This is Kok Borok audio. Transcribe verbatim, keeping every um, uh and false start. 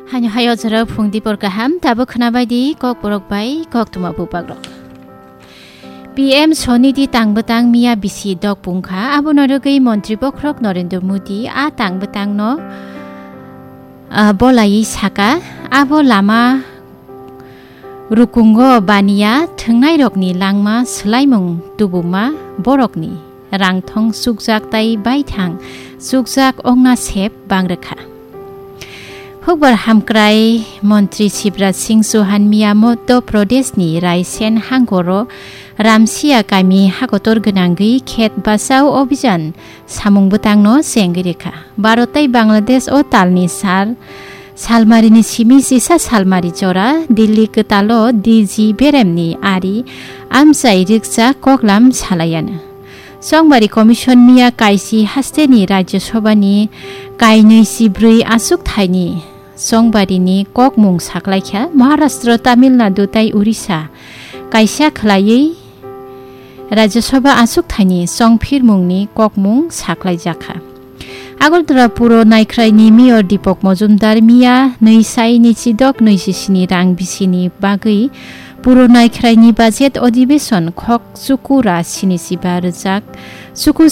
Haino hai o jora phung dipor kaham, tabuk khwnabai di Kokborok bai koktwma bubagrok. P M Swanidhi tang bwtang miya bisi dok pungkha, abono rwgwi Montri Bokhorok Narendra Modi a tang bwtangno, ah, bolaiwi saka, abo lama rukungo baniya thwngnairokni langma swlaimung tubuma borokni rangthong chukjak tai baithang chukjak ongna sep bangrwkha. Hukbar hamkrai Montri Shivraj Singh Chauhan miya Madhya Pradeshni Raisen hangoro Ramsiya kami hakotor gwnangwi khet bachao obhijan samung bwtangno chengwi rwkha. Bharat tei Bangladesh o talni sal, salmarini simi chisa salmari jora Delhi kwtalo D G beremni ari amchai rikcha koklam salaiyanw. Chongbari Commission miya kaisi hasteni Rajya Sabhani kainwi chibrwi achuk thaini chongbarini kokmung saklaikha. Maharashtra, Tamil Nadu tei Orissa kaisa khwlaiwi Rajya Sabha achuk thaini chongphirmungni kokmung saklaijakha. Agartala Puro Naikhraini Mayor Deepak Majumdar miya nwi sai ni chidok nwi sisini rang bisini bagwi Puro Naikhraini budget adhibeshon khok chuku ra sini siba rwjak chuku